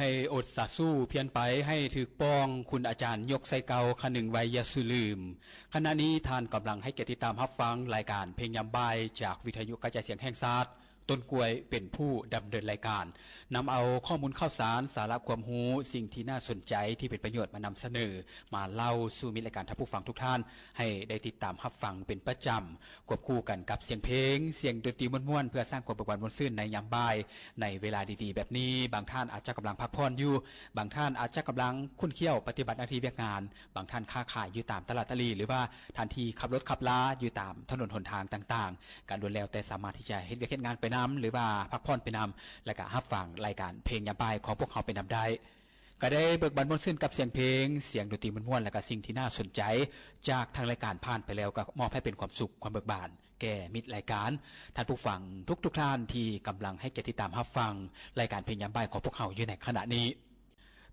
ໄດ້ອົດສາສູ້ພຽນໄປໃຫ້ຖືກປ່ອງ ຄຸນອາຈານຍົກໄຊເກົ່າ ຄະນຶງໄວຢ່າສູ່ລືມ. ຂະນະນີ້ທ່ານກຳລັງໃຫ້ກຽດຕິດຕາມຮັບຟັງລາຍການເພງຍາມບ່າຍ ຈາກວິທະຍຸກະຈາຍສຽງແຫ່ງຊາດ, ຕົ້ນກ້ວຍເປັນຜູ້ດຳເນີນລາຍການ, ນຳເອົາຂໍ້ມູນຂ່າວສານ, ສາລະຄວາມຮູ້, ສິ່ງທີ່ໜ້າສົນໃຈທີ່ເປັນປະໂຫຍດມານຳສະເໜີ, ມາເລົ່າສູ່ມິດລາຍການທ່ານຜູ້ຟັງທຸກທ່ານ ໃຫ້ໄດ້ຕິດຕາມຮັບຟັງເປັນປະຈຳ, ຄວບຄູ່ກັນກັບສຽງເພງ, ສຽງດົນຕີມ່ວນໆ ເພື່ອສ້າງຄວາມເບີກບານມ່ວນຊື່ນໃນຍາມບ່າຍ, ໃນເວລາດີໆແບບນີ້. ບາງທ່ານອາດຈະກຳລັງພັກຜ່ອນຢູ່, ບາງທ່ານອາດຈະກຳລັງຂຸ້ນຂ້ຽວປະຕິບັດໜ້າທີ່ວຽກງານ, ບາງທ່ານຄ້າຂາຍຢູ່ຕາມຕະຫຼາດຕະຫຼີ່ ຫຼືວ່າທ່ານທີ່ຂັບລົດຂັບລາຢູ່ຕາມຖະໜົນຫົນທາງຕ່າງໆ, ກໍລ້ວນແລ້ວແຕ່ສາມາດທີ່ຈະເຮັດວຽກເຮັດງານໄປນຳ ຫຼືວ່າພັກຜ່ອນໄປນຳ ແລະກະຮັບຟັງລາຍການເພງຍາມບ່າຍຂອງພວກເຮົາໄປນຳໄດ້. ກໍໄດ້ເບີກບານມ່ວນຊື່ນກັບສຽງເພງ, ສຽງດົນຕີມ່ວນໆ ແລະກະສິ່ງທີ່ໜ້າສົນໃຈຈາກທາງລາຍການຜ່ານໄປແລ້ວ ກໍມອບໃຫ້ເປັນຄວາມສຸກຄວາມເບີກບານແກ່ມິດລາຍການ, ທ່ານຜູ້ຟັງທຸກໆທ່ານທີ່ກຳລັງໃຫ້ກຽດຕິດຕາມຮັບຟັງລາຍການເພງຍາມບ່າຍຂອງພວກເຮົາຢູ່ໃນຂະນະນີ້.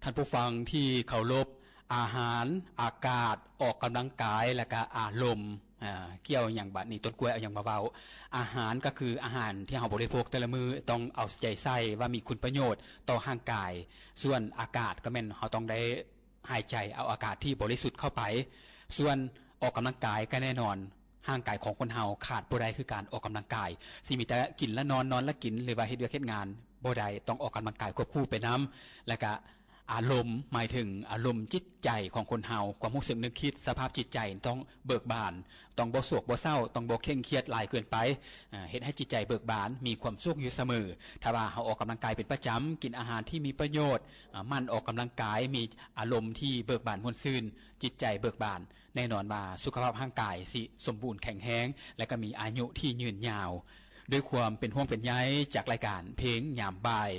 ທ່ານຜູ້ຟັງທີ່ເຄົາລົບ, ອາຫານ, ອາກາດ, ອອກກຳລັງກາຍ ແລະກະອາລົມ, ອາ, ກ່ຽວຫຍັງບາດນີ້? ຕົ້ນກ້ວຍເອົາຫຍັງມາເວົ້າ? ອາຫານກໍຄືອາຫານທີ່ເຮົາບໍລິໂພກແຕ່ລະມື້, ຕ້ອງເອົາໃຈໃສ່ວ່າມີຄຸນປະໂຫຍດຕໍ່ຮ່າງກາຍ. ສ່ວນອາກາດກໍແມ່ນເຮົາຕ້ອງໄດ້ຫາຍໃຈເອົາອາກາດທີ່ບໍລິສຸດເຂົ້າໄປ. ສ່ວນອອກກຳລັງກາຍກໍແນ່ນອນ, ຮ່າງກາຍຂອງຄົນເຮົາຂາດບໍ່ໄດ້ຄືການອອກກຳລັງກາຍ. ຊິມີແຕ່ກິນແລະນອນ, ນອນແລະກິນ ຫຼືວ່າເຮັດວຽກເຮັດງານບໍ່ໄດ້, ຕ້ອງອອກກຳລັງກາຍຄວບຄູ່ໄປນຳ. ແລະກະອາລົມ ໝາຍເຖິງອາລົມຈິດໃຈຂອງຄົນເຮົາ, ຄວາມຮູ້ສຶກນຶກຄິດ, ສະພາບຈິດໃຈຕ້ອງເບີກບານ, ຕ້ອງບໍ່ໂສກບໍ່ເສົ້າ, ຕ້ອງບໍ່ເຄັ່ງຄຽດຫຼາຍເກີນໄປ, ອາ, ເຮັດໃຫ້ຈິດໃຈເບີກບານ, ມີຄວາມສຸກຢູ່ສະເໝີ. ຖ້າວ່າເຮົາອອກກຳລັງກາຍເປັນປະຈຳ, ກິນອາຫານທີ່ມີປະໂຫຍດ, ອາ, ໝັ່ນອອກກຳລັງກາຍ, ມີອາລົມທີ່ເບີກບານມ່ວນຊື່ນ, ຈິດໃຈເບີກບານ, ແນ່ນອນວ່າສຸຂະພາບຮ່າງກາຍຊິສົມບູນແຂງແຮງ ແລະກໍມີອາຍຸທີ່ຍືນຍາວ. ດ້ວຍຄວາມເປັນຫ່ວງເປັນໃຍຈາກລາຍການເພງຍາມບ່າຍ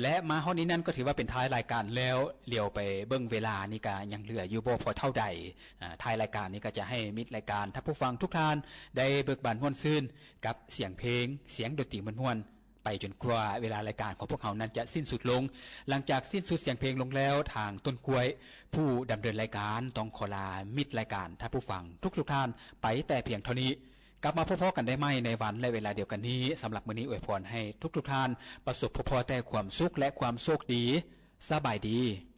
ແລະມາຮອດນີ້ນັ້ນກໍຖືວ່າເປັນທ້າຍລາຍການແລ້ວ. ຫຼຽວໄປເບິ່ງເວລານີ້ກະຍັງເຫຼືອຢູ່ບໍ່ພໍເທົ່າໃດ. ອາ, ທ້າຍລາຍການນີ້ກໍຈະໃຫ້ມິດລາຍການທ່ານຜູ້ຟັງທຸກທ່ານໄດ້ເບີກບານມ່ວນຊື່ນກັບສຽງເພງ, ສຽງດົນຕີມ່ວນໆ ໄປຈົນກວ່າເວລາລາຍການຂອງພວກເຮົານັ້ນຈະສິ້ນສຸດລົງ. ຫຼັງຈາກສິ້ນສຸດສຽງເພງລົງແລ້ວ, ທາງຕົ້ນກ້ວຍ ຜູ້ດຳເນີນລາຍການ ຕ້ອງຂໍລາມິດລາຍການທ່ານຜູ້ຟັງທຸກໆທ່ານໄປແຕ່ພຽງເທົ່ານີ້. ກັບມາພົບພໍ້ກັນໄດ້ໃໝ່ໃນວັນ ແລະ ເວລາດຽວກັນນີ້. ສຳລັບມື້ນີ້ອວຍພອນໃຫ້ທຸກໆທ່ານປະສົບພົບພໍ້ແຕ່ຄວາມສຸກ ແລະ ຄວາມໂຊກດີ. ສະບາຍດີ.